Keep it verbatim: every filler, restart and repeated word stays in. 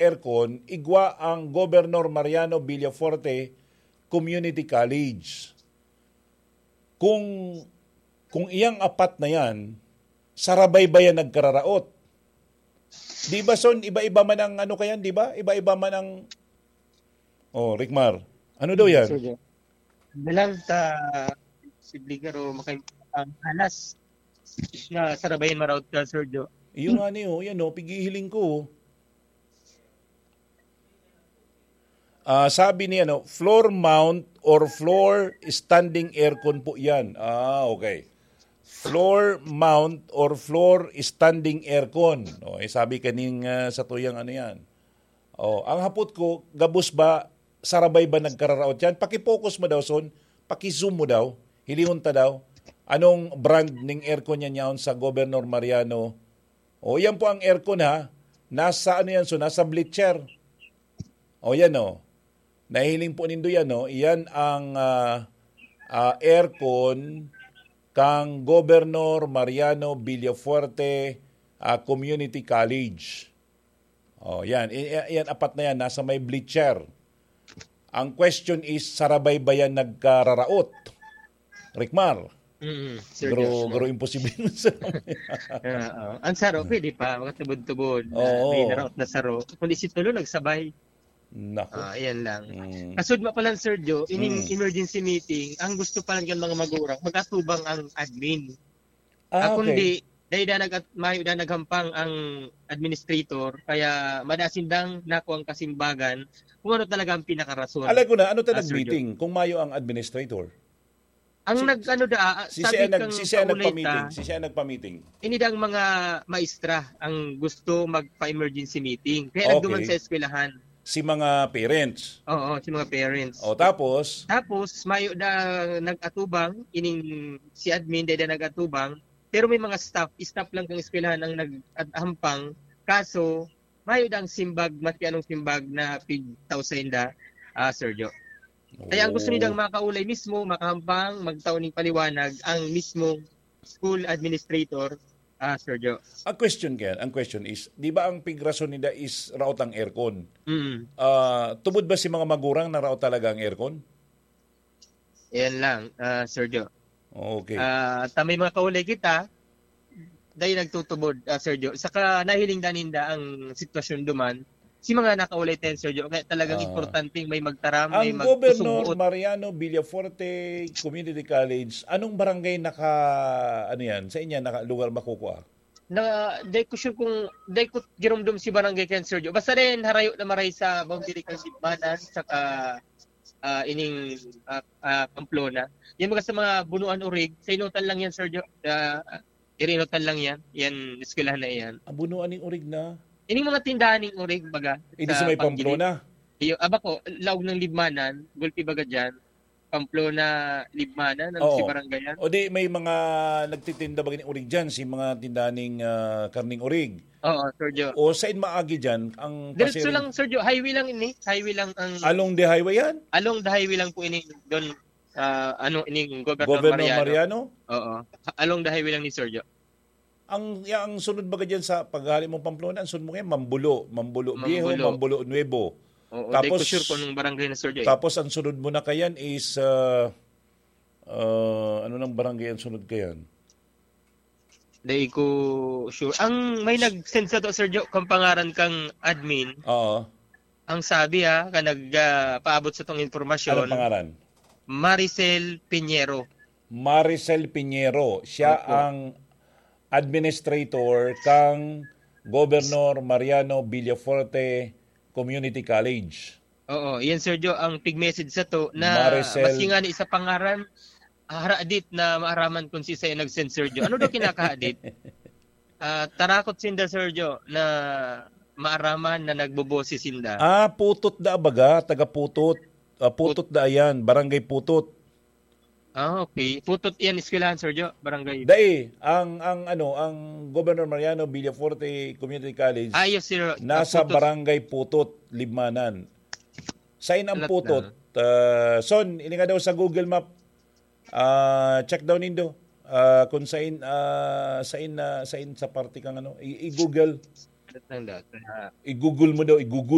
aircon, igwa ang Governor Mariano Villafuerte Community College. Kung, kung iyang apat na yan, sarabay ba yan nagkararaot? Di ba, Son, iba-iba man ang ano kayan, di ba? Iba-iba man ang... Oh, Ricmar, ano daw yan? Sir Jo. Bilang sa posible garo makay-, ang hanas na sarabayan maraot ka, Sir Jo. Iyo nga niyo, yan o, pighihiling ko. Ah, sabi ni ano, floor mount or floor standing aircon po yan. Ah, okay. Floor mount or floor standing aircon. O, eh, sabi kaning, ah, sa tuyang ano yan. Oh, ang hapot ko, gabos ba, sarabay ba nagkararaot yan? Paki-focus mo daw, Son. Paki-zoom mo daw. Hilihon ta daw. Anong brand ning aircon yan yaon sa Governor Mariano? O, yan po ang aircon, ha. Nasa ano yan, Son? Nasa bleacher. O, yan, o. Nahiling po nindo yan, no? Iyan ang, ah, ah, aircon kang Governor Mariano Villafuerte, ah, Community College. O, yan. I-, i-, yan, apat na yan. Nasa may bleacher. Ang question is, sarabay ba yan nagkararaot? Ricmar? Mm, Sir Garo, Joshua. Garo imposible sa... Oo. Ang saro, pwede pa, makatubod-tubod na Oo. may naraot na saro. Kundi si Tulo nagsabay. Nako. Ah, ayan lang. Mm. Kasud mo pa lang, Sir Jo, ining Mm. emergency meeting, ang gusto pa lang yung mga magurang, mag-atubang ang admin. Ah, Ah, kung okay. di, dahil da nag-, mayo da naghampang ang administrator, kaya madasin dang nako ang kasimbagan kung ano talaga ang pinakarason. Alay ko na, ano ta Ah, Sir Jo. nag-meeting kung mayo ang administrator? Ang Si, nag-ano da, ah, si sabi siya nag-, kang si siya kaulay nagpa-meeting, ta, si siya nagpa-meeting. ini daw ang mga maestra ang gusto magpa-emergency meeting. Kaya nagduman Okay. sa eskwelahan. Si mga parents. Oo, si mga parents. O, tapos? Tapos, mayo da nag-atubang, ining si admin, dai da nag-atubang, pero may mga staff, staff lang kang eskwelahan ang nag-, at hampang. Kaso, mayo da ang simbag, maski anong simbag na pigtao sainda, ah, Sir Jo. Kaya ang gusto Oh. nindang makaulay mismo, makahampang, magtao ning paliwanag, ang mismong school administrator, ah, Sir Jo. Ang question kaya, ang question is, di ba ang pigrason nila is raot ang aircon? Mm. Ah, tubod ba si mga magurang na raot talaga ang aircon? Yan lang, ah, Sir Jo. Okay. Ah, ta may mga kaulay kita, dai nagtutubod, ah, Sir Jo. Saka nahiling da ninda ang sitwasyon duman, si mga nakaulay tayo, Sir Jo. Kaya talagang Ah. importanteng may magtaram, may Ang Governor magpasugbuot. Mariano Villafuerte Community College, anong barangay naka, ano yan, sa inyo, naka, lugar makukuha? Na, dai ko sure kung, dai ko giromdom si barangay kayan, Sir Jo. Basta rin, harayo na maray sa boundary kan Libmanan, saka, ah, ining, ah, ah, Pamplona. Yan mga sa mga Bunuan Urig, sa Inotan lang yan, Sir Jo. Ah, Iri Inotan lang yan. Yan, eskwelahan na yan. Ang Bunuan ning Urig na? Ining mga tindahan ning Urig, baga, Hindi sa sa may Pamplona? Iyo, aba ko, laog ng Libmanan, gulpi baga dyan. Pamplona, Libmanan, ang Oo. si barangayan. O di, may mga nagtitinda ba ganing urig dyan, si mga tindahan ning, ah, karning urig? Oo, Sir Jo. O sain maagi dyan, ang Diretso pasahero? lang, Sir Jo. Highway lang ini. Highway lang ang Along the highway yan? Along the highway lang po ini, doon, ah, ano, ining Governor Governor Mariano. Mariano? Oo. Along the highway lang ni Sir Jo. Ang, ya-, ang sunod baga dyan sa paghali mong Pamplona, ang sunod mo ngayon, Mambulo, Mambulo Viejo, Mambulo. Mambulo Nuevo. Oo, di ko Tapos, sure kung anong barangay na, Sir Joy. tapos ang sunod mo na kayan is, ah, ah, ano nang barangay ang sunod kayan? Di ko sure. Ang may nag-send sa to, Sir Jo, kung pangaran kang admin, Oo. ang sabi, ha, ka nag, ah, paabot sa tong impormasyon, Anong pangaran? Maricel Piñero. Maricel Piñero. Siya Opo. ang administrator kang Governor Mariano Villafuerte Community College. Oo, yan, Sir Jo, ang pig-message sa to na Maricel. Maski nga ni isa pangaran, haradit na maaraman kung si sa'yo nag-send, Sir Jo. Ano daw kinakahadit? Ah, tarakot sinda, Sir Jo, na maaraman na nagboboses sinda. Ah, Putot da baga, taga Putot. Ah, Putot Put- da yan, Barangay Putot. Ah, okay. Putot yan, eskwelahan, Sir Jo, barangay. Dai, ang, ang, ano, ang Governor Mariano Villafuerte Community College Ah, yes, sir. nasa Ah, Putot. Barangay Putot, Libmanan. Sain ang Alat Putot? na. Ah, Son, ini nga daw sa Google Map. Ah, check daw nindo. Ah, kung sain, ah, sain na, sain sa parte kang ano, i-, i-Google. Alat lang daw. Ah. I-Google mo daw, i-Google.